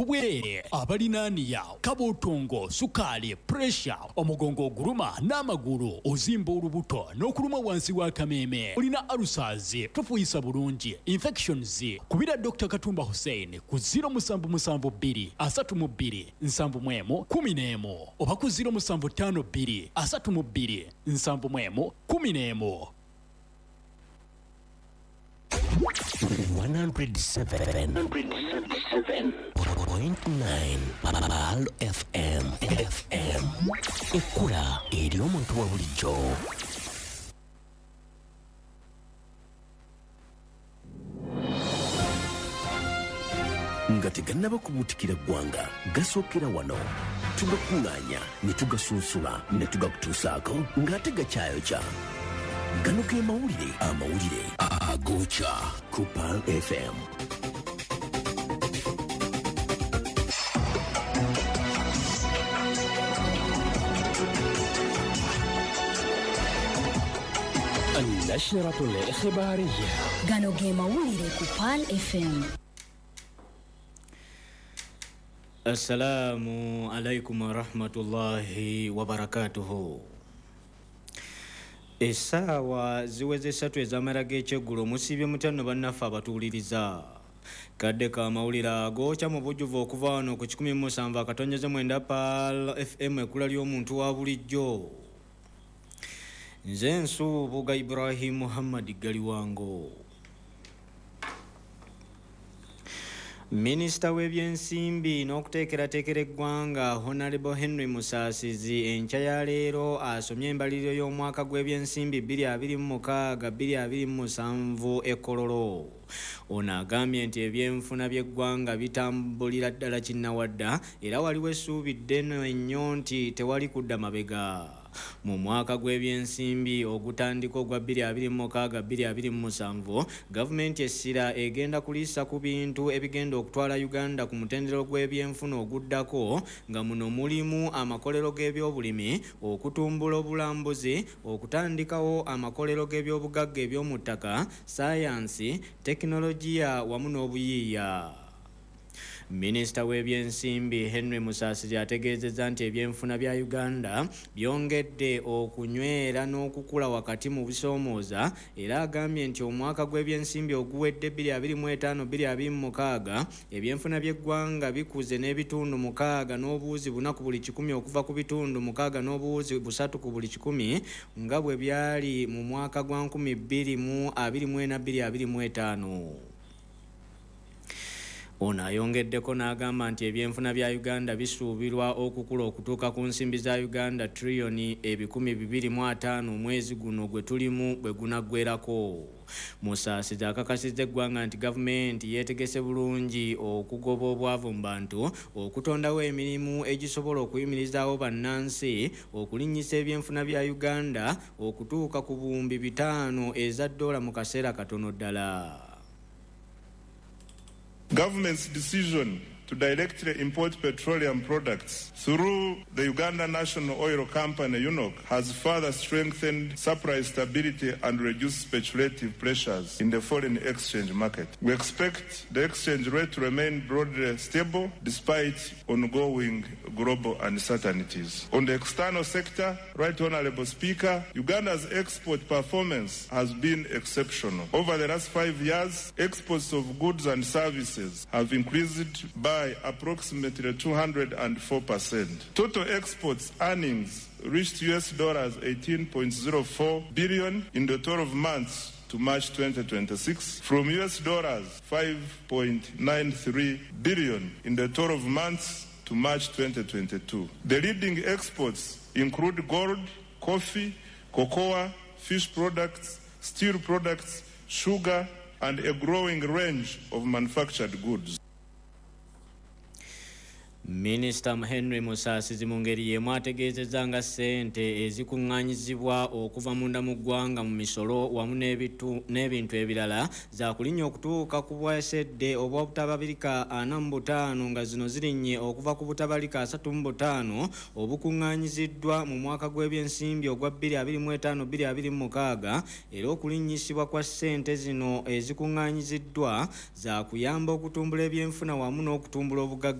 bwereere. Abalina aniya, kabuutungo, sukaali, puresha, omugongo oguluma n'amagulu, ozimba olubuto n'okuluma wansi w'akameeme, olina alusaazi, tofuuyisa bulungi, infections, kubira Dr. Katumba Hussein ku 0772 32 71 11 oba ku 0752 32 71 11. 107.9 Pearl FM FM ekkula eri omuntu wa bulijjo. Nga tegannaba kubuutikira ggwanga, gasookera wano, tugakuŋŋaanya ne tugasunsula ne tugakutuusaako ng'ate gakyayokya. Gano ge mawulire, amawulire agookya ku Pearl FM. النشرة الإخبارية. Gano ge mawulire ku Pearl FM. Assalamu alaikum warahmatullahi wabarakatuhu. Essaawa ziweze 3 ez'amala g'ekyeggulo, musiibye mutano bannaffe abatuwuliriza. Kadde ka mawulire agookya mu bujjuvu okuva wano ku 107.9 Pearl FM, ekkula ly'omuntu wa bulijjo. Nze Nsubuga Ibrahim Muhammad Galiwango. Minisita w'ebyensimbi n'okuteekerateekera eggwanga Honorable Henry Musaasizi enkya ya leero asomye embaliriro y'omwaka gw'ebyensimbi 2026-2027 e Kololo. Ono agambye nti ebyenfuna by'eggwanga bitambulira ddala kinnawadda era waliwo essuubi ddene ennyo nti tewali kudda mabega. Mu mwaka gw'ebyensimbi ogutandika ogwa 2026-2027, gavumenti essira egenda kuliisa ku bintu ebigenda okutwala Uganda ku mutendera gw'ebyenfuna oguddako, nga muno mulimu amakolero g'ebyobulimi, okutumbula obulambuzi, okutandikawo amakolero g'ebyobugagga eby'omu ttaka, sayansi, tekinologiya wamu n'obuyiiya. Minisita w'ebyensimbi Henry Musaasizi ategeezezza nti ebyenfuna bya Uganda byongedde okunywera n'okukula wakati mu bisoomooza, era agambye nti omwaka gw'ebyensimbi oguwedde 2025-2026 ebyenfuna by'eggwanga bikuze n'ebitundu 6.4 ku buli kikumi okuva ku bitundu 6.3 ku buli kikumi nga bwe byali mu mwaka gwa 2024-2025. Ono ayongeddeko n'agamba nti ebyenfuna bya Uganda bisuubirwa okukula okutuuka ku nsimbi za Uganda triliyoni 250 omwezi guno gwe tulimu bwe gunaggwerako. Musaasizi akakasizza eggwanga nti gavumenti yeetegese bulungi okugoba obwavu mu bantu, okutondawo emirimu egisobola okuyimirizaawo bannansi, okulinnyisa ebyenfuna bya Uganda okutuuka ku buwumbi 5 eza ddoola mu kaseera katono ddala. Government's decision to directly import petroleum products through the Uganda National Oil Company, UNOC, has further strengthened supply stability and reduced speculative pressures in the foreign exchange market. We expect the exchange rate to remain broadly stable despite ongoing global uncertainties. On the external sector, Right Honorable Speaker, Uganda's export performance has been exceptional. Over the last 5 years, exports of goods and services have increased by approximately 204%. Total exports earnings reached US dollars 18.04 billion in the 12 months to March 2026 from US dollars 5.93 billion in the 12 months to March 2022. The leading exports include gold, coffee, cocoa, fish products, steel products, sugar, and a growing range of manufactured goods. Minisita Henry Musaasizi mu ngeri y'emu ategeezezza nga ssente ezikuŋŋaanyizibwa okuva munda mu ggwanga mu misolo wamu n'ebintu ebirala zaakulinnya okutuuka ku bwesedde obwa butabalika 45, nga zino zirinnye okuva ku butabalika 35 obukuŋŋaanyiziddwa mu mwaka gw'ebyensimbi ogwa 2025-2026. Era okulinnyisibwa kwa ssente zino ezikuŋŋaanyiziddwa zaakuyamba okutumbula ebyenfuna wamu n'okutumbula obugagga.